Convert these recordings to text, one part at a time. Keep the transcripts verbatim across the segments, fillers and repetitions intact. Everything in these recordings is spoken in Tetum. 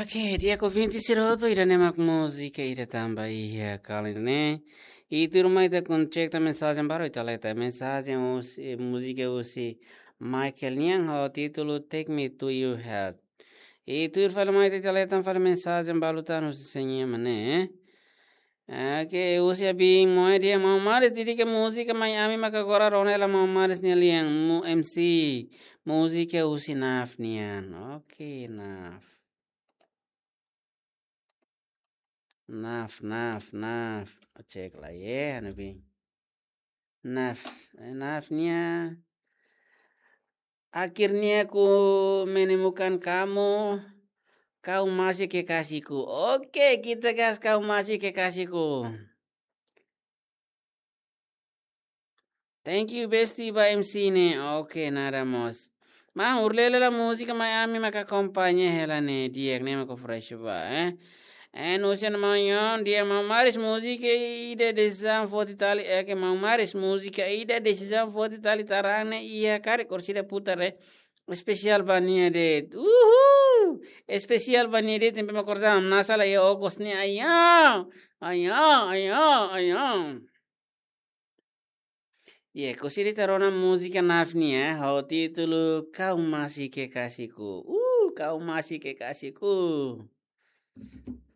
Oke, di'ak ouvinte sira hotu, ida-ne'e mak múzika ida tanba iha kali ne'e. I tuirmai ita kontinua mensajen balu, ita leta mensajen husi, múzika husi Michael nian ho títulu Take Me to Your Heart. I tuir fali mai ita leta fali mensajen balu tan husi sé nian mak ne'e. Oke, husi Abin Moe, di'ak maun Maris, dedika múzika mai ami maka agora rona hela maun Maris nia lian, mu M C, múzika husi Naf nian. Oke, Naf. Naf, Naf, Naf. Cek lai, eh, anu Abin. Naf, eh, Naf nia. Akhirnya ku menemukan kamu, kau masih kekasihku. Oke, kita gas, kau masih kekasihku. Thank you, bestie, ba M C ne'e. Oke, nada mós. Maun, urlele la múzika mai ami maka akompaña hela ne'e, di'ak ne'e mak fresh ba, eh. En usen maun Yon, di'ak maun Maris, múzika ida desizaun forte tali, eh, ke maun Maris, múzika ida desizaun forte tali tarane, iha karik orsida putar, eh. Espesiál ba nia de'it. Uhul! Espesiál ba nia de'it, tempe me akorda, na sala ya okos ni, ayo, ayo, ayo, ayo. Ye, orsida ita rona múzika Naf nian, eh, ho títulu Kau Masih Kekasihku. Uh, Kau Masih Kekasihku.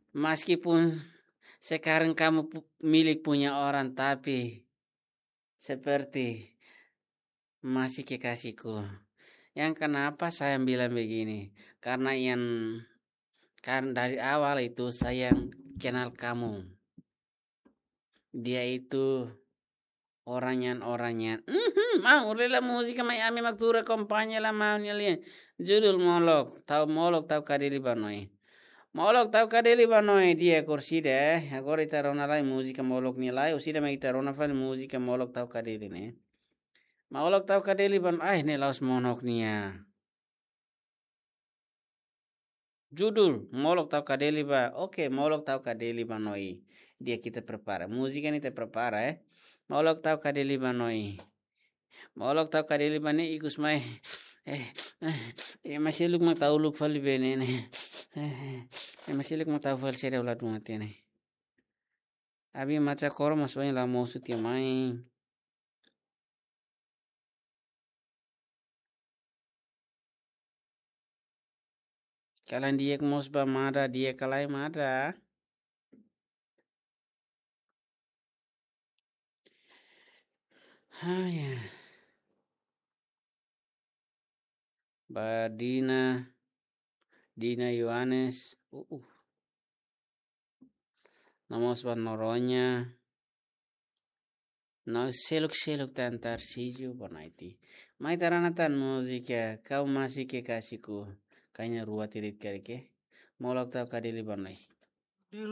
Meskipun sekarang kamu pu-, milik punya orang, tapi seperti masih kekasihku. Yang kenapa saya bilang begini? Karena yang, karena dari awal itu saya kenal kamu. Dia itu orangnya, orangnya. Mhm, maun, urlele la múzika mai ami mak tuur akompaña la maun nia lian. Judul Molok, tau Molok tau Kadeli ba Noi. Molok tau Kadeli ba Noi, di'ak orsida, eh. Agora ita rona lai múzika Molok nia lai, orsida mak ita rona fali múzika Molok tau Kadeli ne'e. Molok tau Kadeli ba Noi, ai, ne'e la'ós Molok nia. Judul, Molok tau Kadeli ba, oke, Molok tau Kadeli ba Noi. Di'ak, ita prepara. Múzika ne'e ita prepara, eh. Molok tau Kadeli ba Noi. Molok tau Kadeli ba Noi, ikus mai. Eh, eh, eh, ema seluk mak tau uluk fali be ne'e ne'e. Eh, eh, ema seluk mak tau fali sede ula dua tiene. Abi maca koro mas oin la mosu tiha mai. Kalan di'ak mós ba Mada, di'ak ka lae Mada. Ah, ya. Ba Dina, Dina Yohanes, uh, uh. No mós ba Noronha. No seluk-seluk tan Tarcísio, boa noite. Mai ita rona tan múzika, Kau Masih Kekasihku, kanya rua tirit kali ke. Molok tau Kadeli ba Noi.